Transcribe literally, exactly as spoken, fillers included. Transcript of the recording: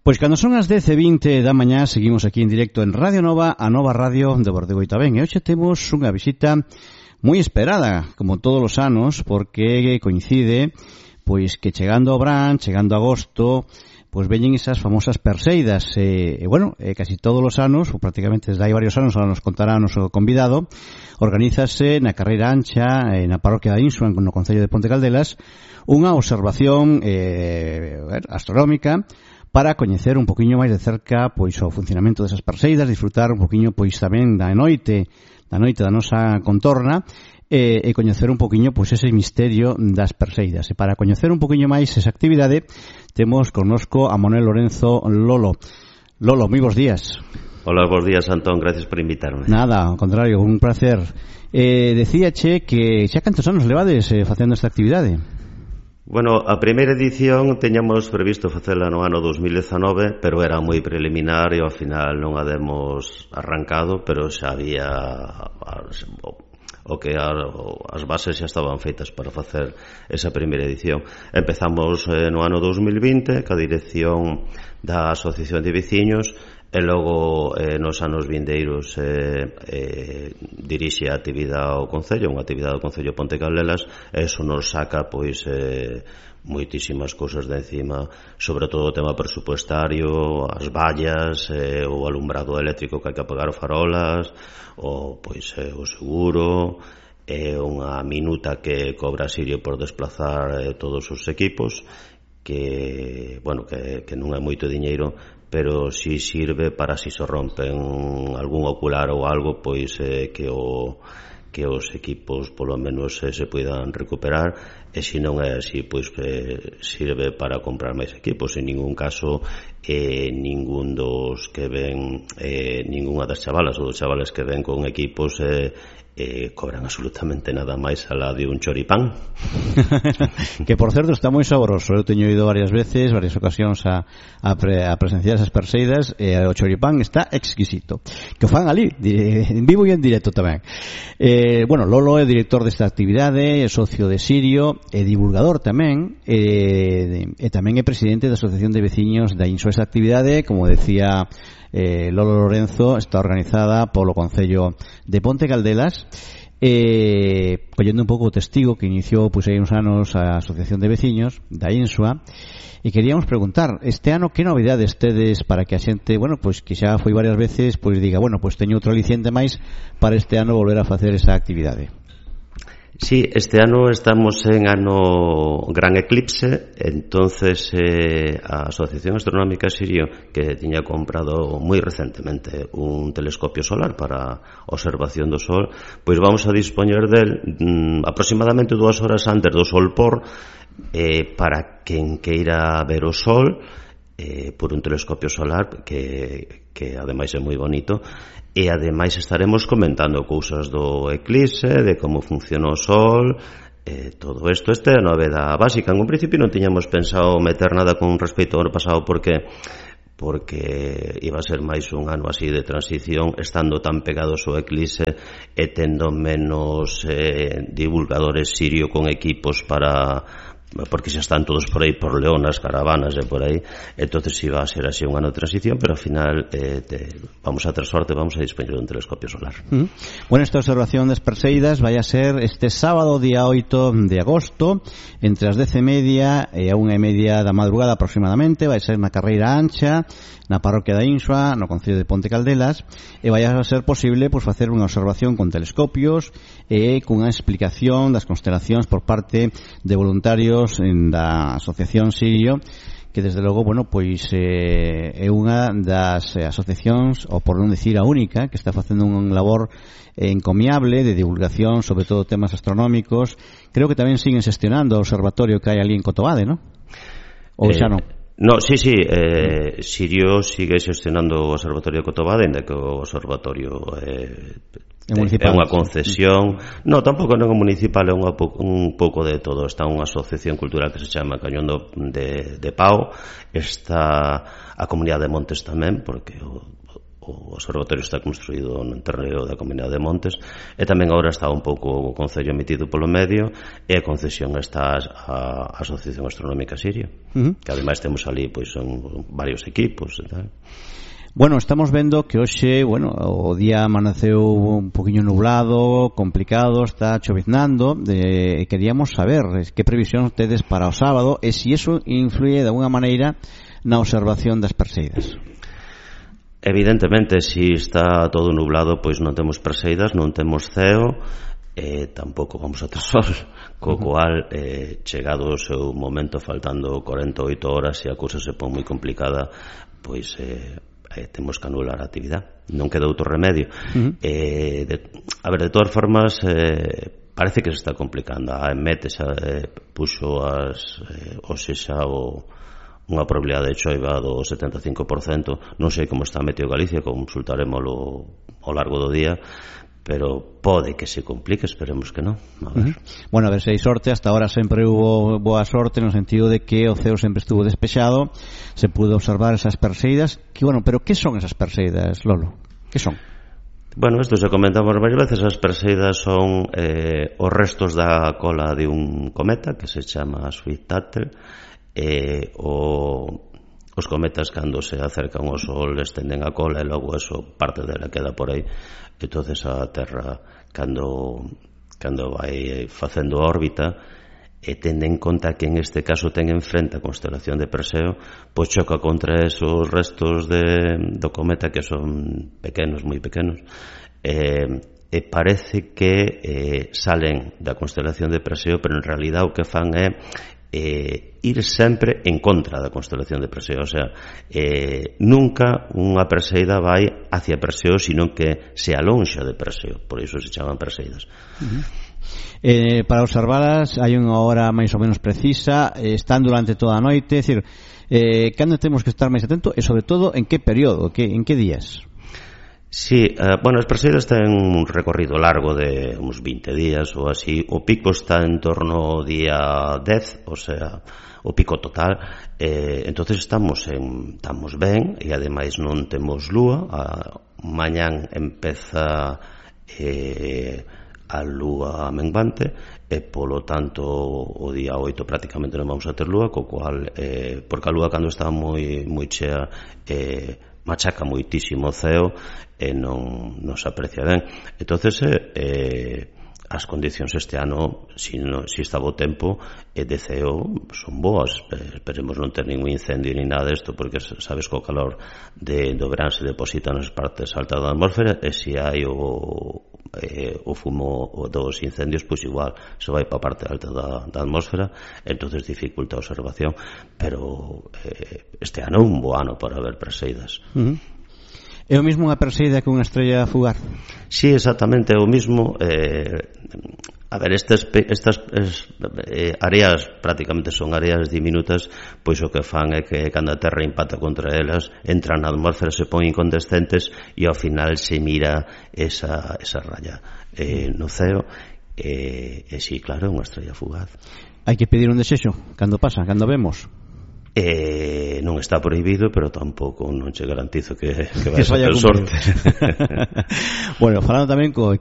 Pois cando son as dez e vinte da mañá seguimos aquí en directo en Radio Nova, a Nova Radio de Bordegoita Ben. E hoxe temos unha visita moi esperada, como todos os anos, porque coincide pois que chegando ao verán, chegando a agosto, pois veñen esas famosas perseidas. E, e bueno, e casi todos os anos, ou prácticamente desde hai varios anos, ahora nos contará o noso convidado, organízase na Carreira Ancha, na parroquia da Insua, no concello de Ponte Caldelas, unha observación eh, astronómica para coñecer un poquinho máis de cerca pois o funcionamento desas perseidas, disfrutar un poquinho pois tamén da noite, da noite da nosa contorna e, e coñecer un poquinho pois ese misterio das perseidas. E para coñecer un poquinho máis esa actividade temos connosco a Manuel Lorenzo Lolo. Lolo, moi bons días. Hola, bons días, Antón, gracias por invitarme. Nada, ao contrario, un placer. Eh, decíache que xa cantos anos levades eh, facendo esta actividade? Bueno, a primeira edición teñamos previsto facela no ano dos mil dezanove, pero era moi preliminar e ao final non a demos arrancado, pero xa había o que as bases xa estaban feitas para facer esa primeira edición. Empezamos eh, no ano dos mil vinte ca dirección da Asociación de Veciños e logo eh, nos anos vindeiros eh, eh, dirixe a actividade ao Concello, unha actividade ao Concello Ponte Caldelas, e eso nos saca pois eh, moitísimas cousas de encima, sobre todo o tema presupuestario, as vallas, eh, o alumbrado eléctrico que hai que apagar o farolas, o pois eh, o seguro, e eh, unha minuta que cobra Sirio por desplazar eh, todos os equipos, que, bueno, que, que non é moito diñeiro, pero si sirve para si se rompen algún ocular ou algo, pois eh, que o que os equipos polo menos eh, se poidan recuperar, e se non é así, pois eh, sirve para comprar máis equipos. En ningún caso eh, ningún dos que ven eh, ninguna das chavalas ou dos chavales que ven con equipos eh, eh, cobran absolutamente nada máis alá de un choripán. Que por certo está moi saboroso. Eu teño ido varias veces, varias ocasións a, a, pre, a presenciar esas perseidas, e o choripán está exquisito, que o fan ali en vivo e en directo tamén. eh, bueno, Lolo é director desta actividade, é socio de Sirio, é divulgador tamén, e, e tamén é presidente da Asociación de Veciños da Insua. Esta actividade, como decía Eh, Lolo Lorenzo, está organizada polo Concello de Ponte Caldelas, eh, collendo un pouco o testigo que iniciou pois, hai uns anos a Asociación de Veciños da Insua. E queríamos preguntar, este ano que novidades tedes para que a xente, bueno, pois que xa foi varias veces, pois diga, bueno, pois teño outro aliciente máis para este ano volver a facer esa actividade? Sí, este ano estamos en ano gran eclipse, entonces eh, a Asociación Astronómica Sirio, que tiña comprado moi recentemente un telescopio solar para observación do Sol, pois vamos a dispoñer del mm, aproximadamente dúas horas antes do Sol por, eh, para quen queira ver o Sol eh, por un telescopio solar que, que ademais é moi bonito. E ademais estaremos comentando cousas do eclipse, de como funciona o Sol, eh, todo isto. Esta é a novedade básica. En un principio non tiñamos pensado meter nada con respecto ao ano pasado porque porque iba a ser máis un ano así de transición, estando tan pegados ao eclipse e tendo menos eh, divulgadores Sirio con equipos para, porque xa están todos por aí, por León, as caravanas e por aí. Entonces iba a ser así un ano de transición, pero ao final eh, te, vamos a ter sorte, vamos a dispoñer un telescopio solar. Mm. Bueno, esta observación das perseidas vai a ser este sábado, día oito de agosto, entre as dez e media e a unha e media da madrugada aproximadamente. Vai ser na Carreira Ancha, na parroquia da Insua, no concello de Ponte Caldelas, e vai a ser posible pois, facer unha observación con telescopios e cunha explicación das constelacións por parte de voluntarios en da Asociación Sirio, que desde logo, bueno, pois eh, é unha das eh, asociacións, ou por non dicir a única, que está facendo un labor eh, encomiable de divulgación sobre todo temas astronómicos. Creo que tamén siguen xestionando o observatorio que hai ali en Cotobade, ¿no? Ou xa non? No, sí, sí, eh, Sirio sigue xestionando o Observatorio de Cotobade, ainda que o observatorio eh, é, é unha concesión. No, tampouco non é municipal, é unha, un pouco de todo. Está unha asociación cultural que se chama Cañón de, de Pau, está a Comunidade de Montes tamén, porque o, o observatorio está construído no terreo da Comunidade de Montes, e tamén agora está un pouco o Concello metido polo medio, e a concesión está a Asociación Astronómica Siria, uh-huh. que ademais temos ali pois son varios equipos e tal. Bueno, estamos vendo que hoxe, bueno, o día amaneceu un poquinho nublado, complicado, está choviznando, e queríamos saber que previsión tedes para o sábado e se iso influye de alguna maneira na observación das perseidas. Evidentemente, se está todo nublado, pois non temos perseidas, non temos ceo, e tampouco vamos a ter sol, co cual, eh, chegado o seu momento, faltando cuarenta e oito horas, se a cousa se pon moi complicada, pois eh, eh, temos que anular a actividade, non queda outro remedio. Uh-huh. eh, de, a ver, de todas formas, eh, parece que se está complicando. A EMET xa eh, puxo as eh, hoxe xa o unha probabilidade de choiva do setenta e cinco por cento. Non sei como está Meteo Galicia, consultarémolo ao largo do día, pero pode que se complique, esperemos que non. A ver. Uh-huh. Bueno, a ver se hai sorte. Hasta ahora sempre hubo boa sorte no sentido de que o ceo sempre estuvo despexado, se pudo observar esas perseidas. Que bueno, pero que son esas perseidas, Lolo? Que son? Bueno, isto se comentamos varias veces. As perseidas son eh, os restos da cola de un cometa que se chama Swift-Tuttle. Eh, o, os cometas cando se acercan ao Sol estenden a cola e logo eso, parte dela queda por aí. Entonces a Terra cando, cando vai facendo órbita e tende en conta que en este caso ten enfrente a constelación de Perseo, pois choca contra esos restos de, do cometa que son pequenos, moi pequenos, e, e parece que eh, salen da constelación de Perseo, pero en realidad o que fan é Eh, ir sempre en contra da constelación de Perseo, o sea, eh, nunca unha perseida vai hacia Perseo, sino que se alonxa de Perseo, por iso se chaman perseidas. Uh-huh. Eh, para observalas hai unha hora máis ou menos precisa, eh, están durante toda a noite, é dicir, eh, cando temos que estar máis atento e sobre todo en que período, que, en que días? Sí, eh, bueno, as perseidas ten un recorrido largo de uns vinte días ou así. O pico está en torno ao día dez, o sea, o pico total. Eh, entonces estamos en, estamos ben e ademais non temos lúa. A, mañán empeza eh, a lúa menguante e polo tanto o día oito prácticamente non vamos a ter lúa, co cual eh, porque a lúa cando está moi moi chea eh, machaca moitísimo o ceo e non, non se aprecia ben. Entonces eh, eh, as condicións este ano, si, no, si está bo tempo e de ceo son boas. Esperemos non ter ningún incendio ni nada desto, porque sabes que o calor de, do verán se deposita nas partes altas da atmósfera, e se hai o Eh, o fumo dos incendios, pois igual se vai para a parte alta da, da atmósfera, entonces dificulta a observación, pero eh, este ano é un bo ano para ver perseidas. Uh-huh. É o mesmo unha perseida que unha estrella fugar? Sí, exactamente, é o mesmo. eh, a ver, estas, estas es, eh, áreas prácticamente son áreas diminutas, pois o que fan é que cando a Terra impacta contra elas, entran na atmósfera, se pon incandescentes e ao final se mira esa, esa raya eh, no ceo e, e sí, claro, é unha estrella fugaz. Hai que pedir un desexo cando pasa, cando vemos? Eh, non está prohibido, pero tampouco non che garantizo que, que vai a ter sorte. Bueno, falando tamén co